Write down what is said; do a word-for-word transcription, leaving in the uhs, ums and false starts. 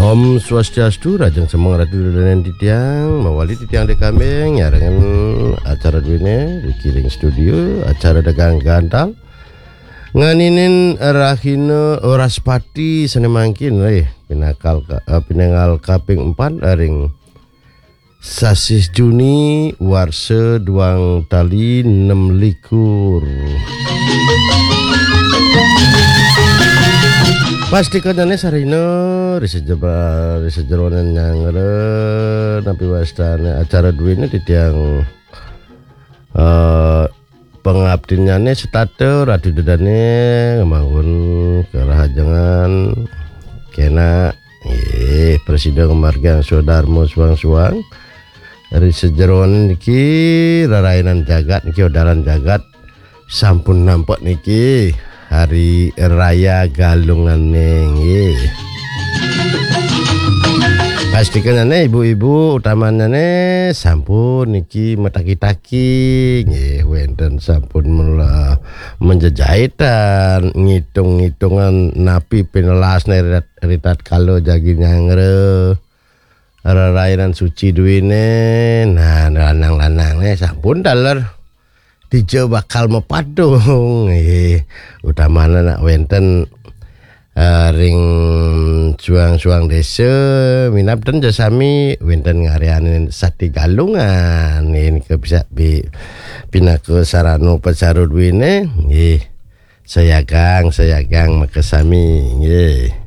Om Swastiastu, rajeng semeng ratu danen titiang, mawali titiang di kambing, nyarengan acara duene, di kiring studio, acara dagang gantal. Nganinin rahina Wraspati sane mangkin, eh, pinakal ka-, eh, pinanggal kaping empat ring sasih Juni, warsa duang tali nem likur. Pastikanyane sarina, ri sejeba-, ri sejeroning nyanggra, napi wastane acara duene titiang, eh, pangaptinnyane setata ratu dedane ngamangun karahajengan kena, nggih, prasida ngamargiang swadarma suang-suang. Ri sejeroning niki rarainan jagat niki, odalan jagat sampun nampek niki hari raya Galungane, nggih. Pastikanane ibu-ibu utamanane sampun niki mataki-taki, nggih, wenten sampun mela-, menjejaitan, ngitung-ngitungan napi pinelasne ri tat-, ri tatkala jagi nyanggra rarainan suci duene. Nah, lanang-lanangne sampun taler dija bakal mapatung. Nggih, utamane nak wenten, eh, ring suang-suang desa, minab ten ja sami wenten ngaryanin sati Galungan. Nggih, nika bisa bi-, pinaka sarana upacara duene. Nggih, sayagang, sayagang makasami. Nggih.